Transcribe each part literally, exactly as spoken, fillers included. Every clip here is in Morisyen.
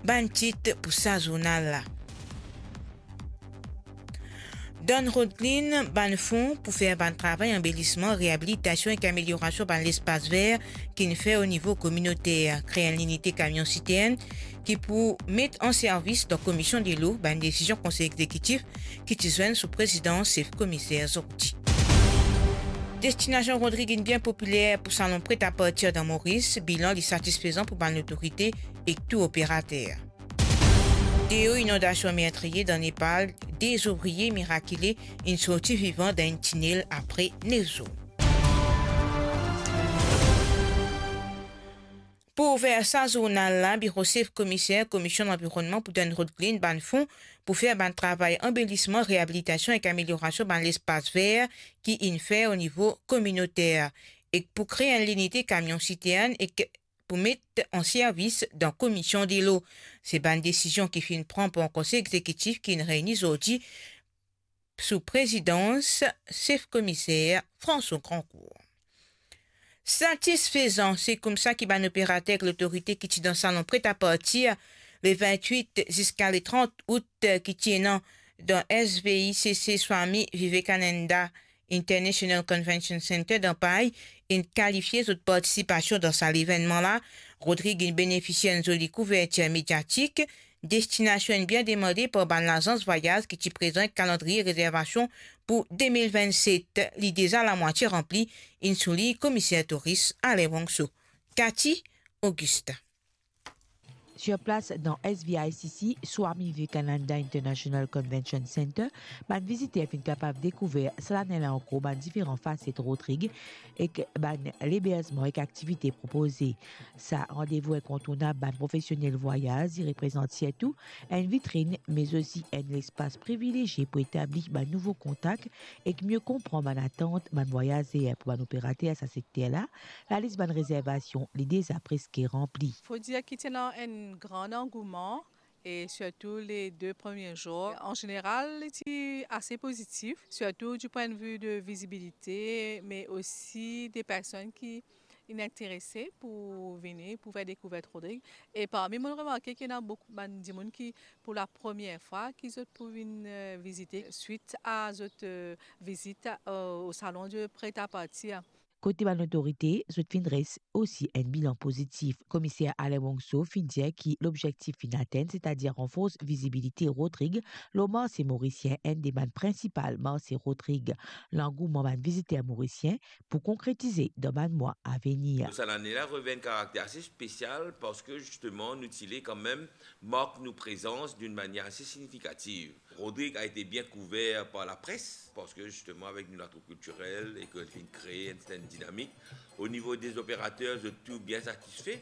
Bann tit pou sa zournal la. Donn Rod Clean bann fon pou fer bann travay anbelisman, reabilitasion ek ameliorasion bann lespas ver ki'nn fer o nivo kominoter. Kre enn linite kamion sitern ki pou met an servis dan Komision Delo, bann desizion Konsey Egzekitif ki ti zwenn sou prezidans sef komiser zordi. Destinasion Rodrig inn bien popiler pou salon pret-a-partir dan Moris, bilan li satisfezan pou bann lotorite ek tour operater. Teo inondasion mertriye dan Nepal, de zovrie mirakile inn sorti vivan dan enn tinel apre nef zour. Pou ouver sa zournal la, Biro Sef Komiser Komision Lanvironnman pou donn Rod Clean bann fon pou fer bann travay anbelisman, reabilitasion ek ameliorasion bann lespas ver ki inn fer o nivo kominoter, ek pou kre enn linite kamion sitern ek pou met an servis dan Komision Delo. Se bann desizion ki finn pran par Konsey Egzekitif ki'nn reyni zordi sou prezidans sef komiser François Grandcourt. Satisfezan, se koumsa ki bann operater ek lotorite ki ti dan salon pret-a-partir le vintwit ziska le trant out ki ti ena dan S V I C C Swami Vivekananda International Convention Center dan Pay inn kalifie zot partisipasion dan sa levennman la. Rodrig inn benefisie enn zoli kouvertir mediatik. Destinasion inn bien demande par bann lazans vwayaz ki ti prezant kalandriye rezervasion pou de mil vennset. Li deza lamwatie ranpli, inn soulign Komiser Touris Alain Wangso. Cathy Augustin. Sur plas dan S V I C C, Swami Vivekananda International Convention Center, bann viziter finn kapav dekouver sa lane la ankor bann diferan faset Rodrig ek bann leberzman ek aktivite propoze. Sa randevou inkontournab bann profesionel vwayaz, li reprezant sirtou enn vitrinn, me osi enn lespas privilezie pou etabli bann nouvo kontak ek mie konpran bann atant bann vwayazer. Pou bann operater sa sekter la, lalis bann rezervasion li deza preske ranpli. Fo dir ki ti ena enn gran angouman, e sirtou le de premie zour. An zeneral, li ti ase pozitif, sirtou di pwin de vi de vizibilite, me osi de personn ki inn interese pou vini, pou fer dekouvert Rodrig. E parmi, mo'nn remarke ki ena boukou bann dimoun ki, pou lapremier fwa, ki zot pou vinn, eh, vizite, swit a zot, eh, vizit, eh, o salon de pret-a-partir. Kote bann lotorite, zot finn dres osi enn bilan pozitif. Komiser Alain Wangso finn dir ki lobzektif finn atenn, setadir ranfors vizibilite Rodrig lor marse morisien, enn de bann prinsipal marse Rodrig. Langouman bann viziter morisien pou konkretize dan bann mwa avenir. Sa lane la revinn enn karakter ase spesial parski zisteman nou ti le kanmem mark nou prezans dan enn manier ase signifikativ. Rodrig a ete bien kouver par lapres, parski zisteman avek nou latroup kiltirel e ki finn kree enn sertenn dinamik. O nivo de zoperater, zot tou bien satisfe,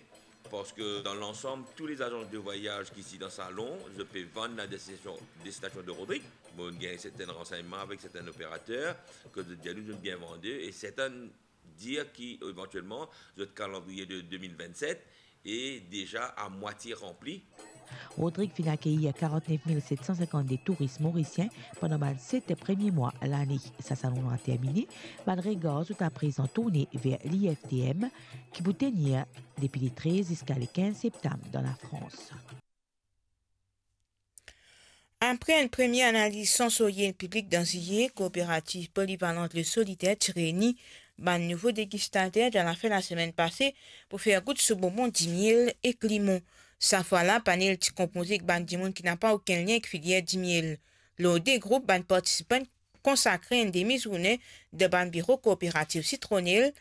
parski dan lansam, tou lezazans de vwayaz ki isi dan salon, zot pe vann la destinasion, destinasion de Rodrig. Bon, gagn sertenn ransegnman avek sertenn operater, ki zot dir nou zot bien vande, e sertenn dir ki, evantielman, zot kalandriye de de mil vennset e deza a mwatie ranpli. Rodrig finn akeyir karantnef mil set san sinkannde touris morisien pandan bann set premie mwa lane. Sa salon la termine, bann regar zot aprezan tourne ver l'I F T M, ki pou tenir depi le trez ziska le kinz septam dan Lafrans. Apre enn premie analiz sansorye piblik dan Ziye, kooperativ polivalant Le Solidaire ti reyni bann nouvo degistater dan lafin lasemenn pase pou fer gout so bonbon dimiel ek limon. Sa fwa la, panel ti konpoze ek bann dimoun ki napa okenn lien ek filier dimiel. Lor de group, bann partisipan konsakre enn demi zourne dan bann biro kooperativ Sitronel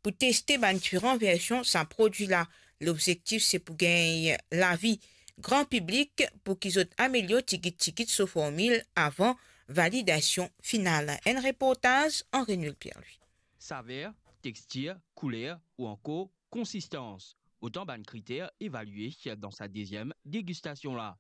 pou teste bann diferan version sa prodwi la. Lobzektif se pou gagn lavi gran piblik pou ki zot amelior tigit tigit so formil avan validasion final. Enn reportaz Henri Nul Pierre-Louis. Saver, tekstir, kouler ou ankor konsistans, otan bann kriter evalie dan sa deziem degistasion la.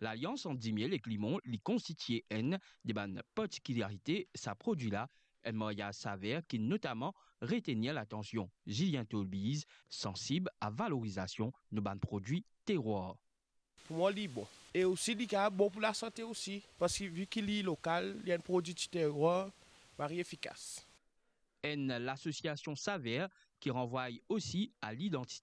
Lalians ant dimiel ek limon li konstitie enn de bann partikilarite sa prodwi la, enn maryaz saver ki notaman retenir latansion Julien Tolbiz, sansib a valorizasion nou bann prodwi terwar. Pou mwa, li bon. E osi, li kapav bon pou lasante osi, parski vi ki li lokal, li enn prodwi ti terwar, mari efikas. Enn lasosiasion saver ki ranvway osi a lidantite